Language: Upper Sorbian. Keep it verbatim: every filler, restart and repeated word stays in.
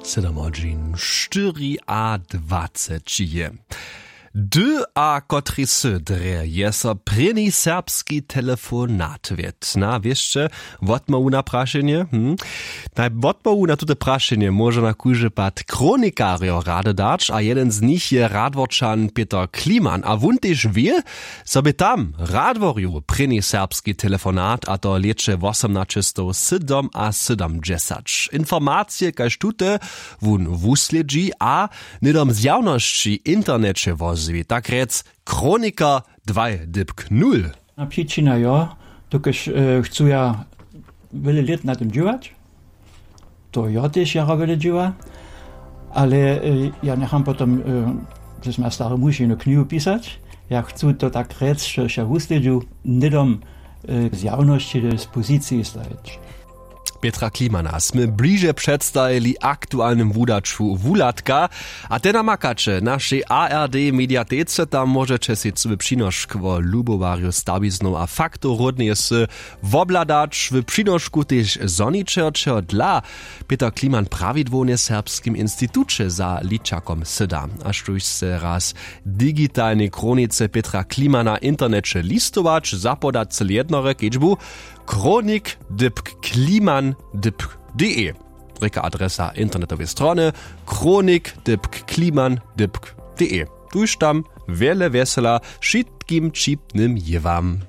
Sydom hodźin štyri a dwaceći je. Hdy a kotrej sy drje je so prěni serbski telefonat wěsće? Wotmołwu na prašenje hm? Naj wotmołwu na tute prašenje móže na kóždy pad kronikarjo rady dać a jeden z nich je radworčan Pětr Kliman a wón tež wě, zo bě tam w radworju prěni serbski telefonat a to w lěće wosomnaćestowsydomasydomdźesać. Informacije kaž tute wón wuslědźi a hnydom zjawnosći w interneće wozwi, tak rjec, kroniker dwaj dypk nul. A přičina jo, dokelž chcu ja wjele lět na tym dźěłać, to jo tež jara wjele dźěła, ale ja njecham potom, to smy ja stary muž jenu knihu pisać. Ja chcu to tak rjec, štož ja wuslědźu, hnydom zjawnosći do dispoziciji stajić. Pětra Klimana smy bliže předstajili aktualnym wudaću wuhladka. A te namakaće w našej ard mediatece, tam móžeće sej cyły přinošk wo lubowarju stawiznow a faktow ródneje sy wobhladać w přinošku tež zhoničerčeho dla. Pětr Kliman prawidłownje w serbskim instituće za ličakom syda, a štóž se raz w digitalnej kronice Pětra Klimana w interneće listować zapoda cyle jednore kedźbu, kronik dypk kliman dypk de, rěka adresa internetowej strony, kronik dypk kliman dypk de. Tuž tam wjele wjesela wšitkim ćipnym jěwam.